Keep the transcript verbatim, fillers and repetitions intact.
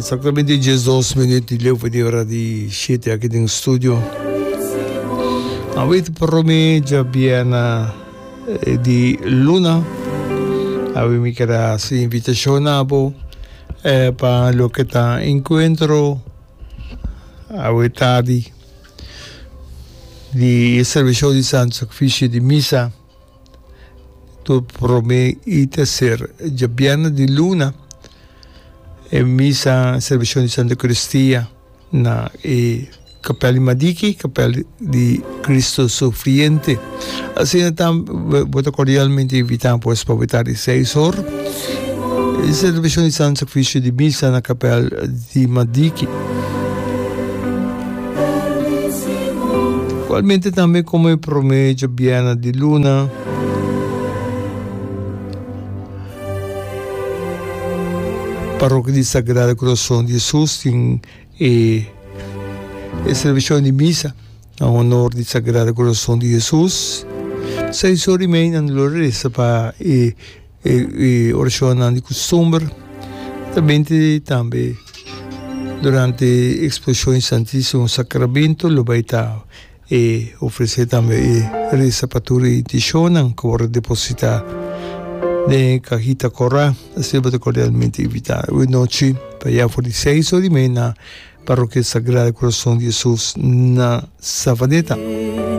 Exactamente diesdos minuut di leu di ora di shete aki den studio. Awe ta prome djabièrnè di luna. Awe mi ker a hasi invitashon na bo pa loke ta enkuentro awe tardi di e servisio di Santo Sakrifisio di Misa tur prome i terser djabièrnè di luna. E misa servisio di Santa Eucaristia na e Kapel di Madiki, Kapel di Cristo Sufriente. Asina tambe bo ta cordialmente invita pues pa bo di seis or. E celebracion di Santo Sacrificio di Misa na Kapel di Madiki. Igualmente tambe como e prome djabièrnè di luna, Parroquia di Sagrado Corazon di Jesus tin e e celebracion di misa na honor di Sagrado Corazon di Jesus. Seis ora y mei nan lo reza pa e e e oracionnan di custumber. Tambe tambe durante exposicion di Santisimo Sacramento lo bay ta e ofresé tambe e resa pa tur e intishonnan ku wòrdu depositá den e kahita kòrá. Asina bo ta kordialmente invitá awe nochi pa ya for di seis ora i mei na Parrokia Sagrado Corazon di Hesus na Savaneta.